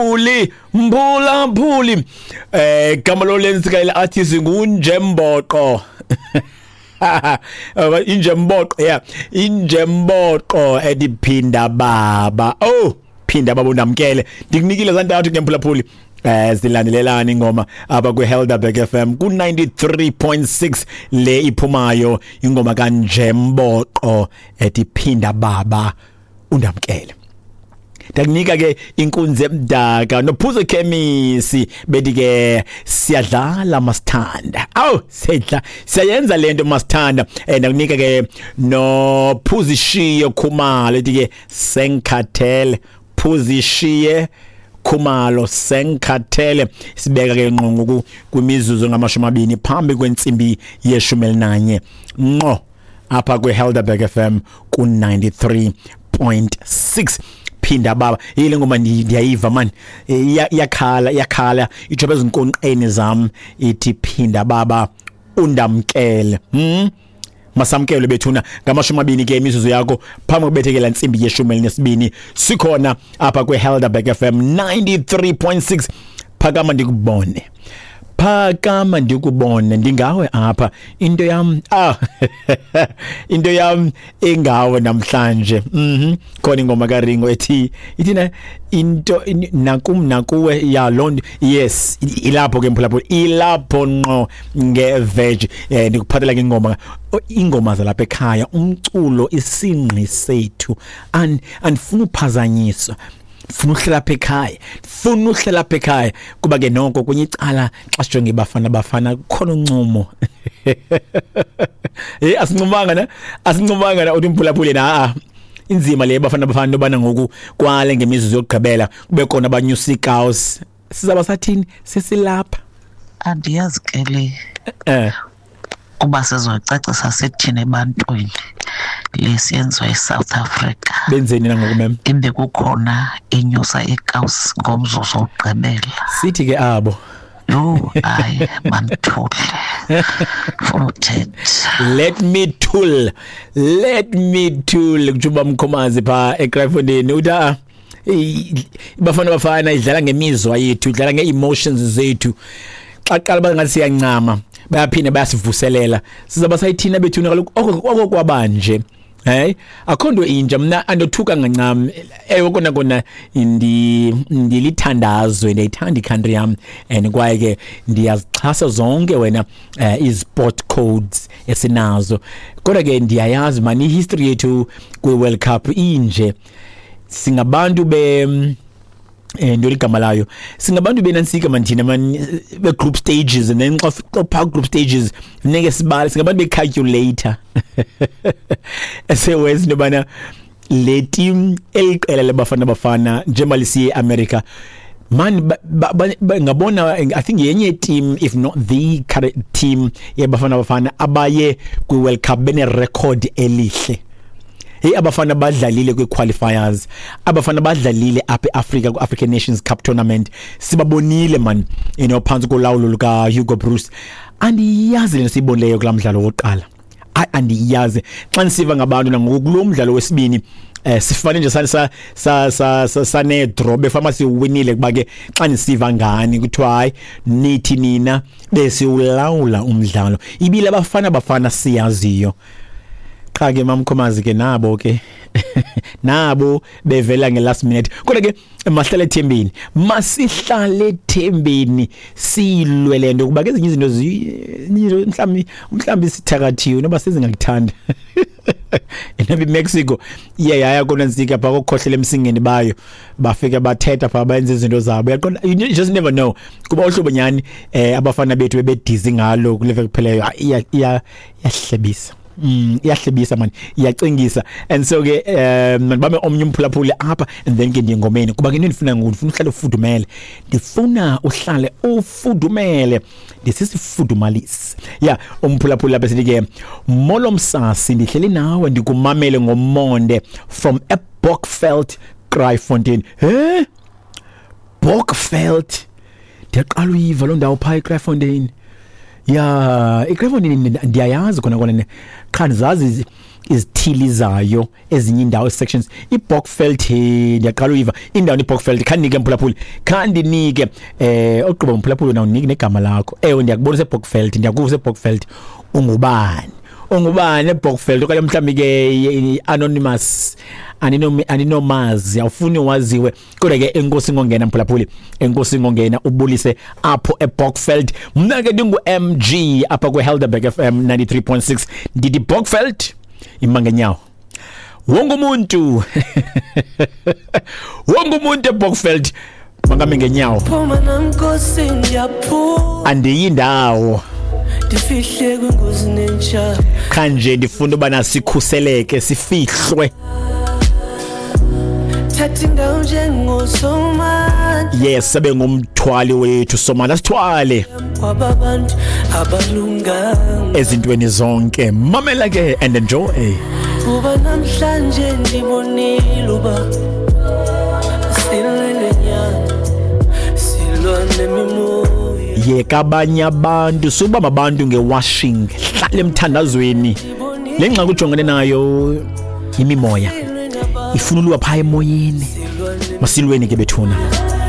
Uli mphulaphuli, gama lolensika ile artist nguNjemboqo. Injemboqo, yeah, injemboqo ediphinda baba. Oh, phinda baba undamkele. Ndikunikile zantathu ke mphulaphuli. Zilandelelana ingoma apha kwiHelderberg FM ku 93.6. Le iphumayo ingoma kaNjemboqo ethi phinda baba undamkele. Ndakunika ke inkunzi emdaka nophuzo khemisi bethi ke siyadlala masithanda. Awu, sidla siyayenza lento masithanda. Ndakunika ke nophuzishiye Khumalo ethi ke senkhathele. Phuzishiye Khumalo, senkhathele. Sibeka ke ngqongo kwimizuzu ngama-20 phambi kwentsimbi ye-11 ngqo apha kwiHelderberg FM ku 93.6. Phinda baba, yile ngoma ndiyayiva man, iyakhala iyakhala itsho ezinkonqeni zam ithi phinda baba undamkele. Masamkele bethuna ngama-20 ke imizuzu yakho phambi kokubethekela intsimbi ye-12. Sikhona apha kwiHelderberg FM 93.6. Phakama ndikubone, phakama ndikubone, ndingawe apha, into yam into yam ingawe namhlanje. Khona ingoma kaRingo ethi ithi na into nakum nakuwe ya loo. Yes, ilapho ke mphulaphula, ilapho ngqo ngeveg. Ndikuphathela ke ingoma, ingoma zalapha ekhaya, umculo isingqi sethu. Andifuna uphazanyiswa, funa uhlala apha ekhaya, funa uhlala apha ekhaya kuba ke noko kwenye icala xa sijonge Bafana Bafana kukhona uncumo. Asincumanga na, asincumanga na uthi mphulaphule na inzima le Bafana Bafana yobana ngoku kwale ngemizuzu yokugqibela kube khona abanyusa iikawusi. Sizaba sathini sesilapha? Andiyazi ke le kuba sizoyicacisa sithini ebantwini le siyenziwa eSouth Africa. Benzeni nangoku mem? Ibe kukhona inyusa iikawusi ngomzuzu wokugqibela. Sithi ke abo. Yho, hayi mandithule, funa uthetha. Let me tool, let me tool, kutsho uba Mkhomazi phaa eKraaifontein. Uthi a Bafana Bafana idlala ngemizwa yethu, idlala ngee-emotions zethu. Xa qala bangathi siyancama, bayaphinda bayasivuselela. Sizaba sayithina bethuna kaloku oko kwabanje. Hey, akho nto intsha, mna andothuka ngancam. Ewe kona kona ndilithandazwe, ndiyayithanda i-country yam and kwaye ke ndiyazixhasa zonke wena i-sport codes esinazo. Kodwa ke ndiyayazi man i-history yethu kwi-World Cup inje. Singabantu be nto ligama layo, singabantu benansika man thina man be group stages, and then xa phaa group stages funeke sibale, singabantu be-calculator esewenza into yobana le team eliqela leBafana Bafana njengoba lisiye eAmerica man ngabona I think yenye team, if not the current team yeBafana Bafana abaye kwi-World Cup bene record elihle. Hey, abafana badlalile kwi-qualifiers, abafana badlalile apha eAfrica ku-African Nations Cup tournament, sibabonile man phantsi kolawulo luka Hugo Broos. Andiyazi le siyibonileyo kulaa mdlalo wokuqala, andiyazi. Xa ndisiva ngabantu nangoku kulo mdlalo wesibini, sifane nje sane draw befama siwinile, kuba ke xa ndisiva ngani kuthiwa hayi nithi nina besiwulawula umdlalo, ibile abafana Bafana siyaziyo. Qha ke mamkhomazi ke nabo ke nabo bevela nge-last minute. Kodwa ke masihlale ethembeni, masihlale ethembeni, silwe le nto kuba ke ezinye izinto mhlawumbi sithakathiwe noba sezingakuthanda. Enoba iMexico iye yaya konantsika phaa kokhohlela emsingeni bayo, bafika bathetha phaa benza izinto zabo, uyaqonda, you just never know. Kuba uhlobo nyhani abafana bethu bebedizi ngalo kule veki kupheleyo, iyahlebisa. Iyahlebisa man, iyacingisa. And so ke mandibambe omnye umphulaphuli apha and then ke ndiye ngomeni, kuba ke into endifuna ngoku, ndifuna uhlale ufudumele, ndifuna uhlale ufudumele, ndisisifudumalisi. Ya, umphulaphuli apha sithi ke molo msasi, ndihleli nawe ndikumamele ngomonde from eBokveld, Kraaifontein. He, Bokveld, ndiyaqala uyiva loo ndawo phaa eKraaifontein. Ya, iKraaifontein ndiyayazi khona kona, qha ndizazi izithili zayo, ezinye indawo, sections. IBokveld, ndiyaqala uyiva indawo iBokveld. Khandinike, mphulaphuli, khandinike ogqiba, mphulaphuli, nawunike negama lakho. Ewe, ndiyakubona useBokveld, ndiyakuva useBokveld. Ungubani, ungubani eBokveld? Okanye mhlawumbi ke anonymous, aninomazi, awufuni waziwe, kodwa ke enkosi ngongena, mphulaphuli, enkosi ngongena ubulise apho eBokveld. Mna ke ndingu-MG apha kwiHelderberg FM 93.6. Ndithi Bokveld ima ngenyawo. Wonke umuntu, wonke umuntu eBokveld makame ngenyawo. Phuma namnkosi, ndiyaphuma. Andiyi ndawo. Ndifihle kwingozi nentsha. Kanje ndifuna ubana sikhuseleke, sifihlwe. Thatha indawo njengosomandla. Yes, abe ngumthwali wethu Somandla, sithwale kwababantu abalunganga ezintweni zonke. Mamela ke and enjoy. Kuba namhlanje ndibonile uba silwele nyana, silwa nemimoya. Yeka abanye abantu, subamba abantu ngewashing, hlala emthandazweni. Le ngxaki ujongene nayo imimoya ifuna uluwa phaa emoyeni. Masilweni ke bethuna.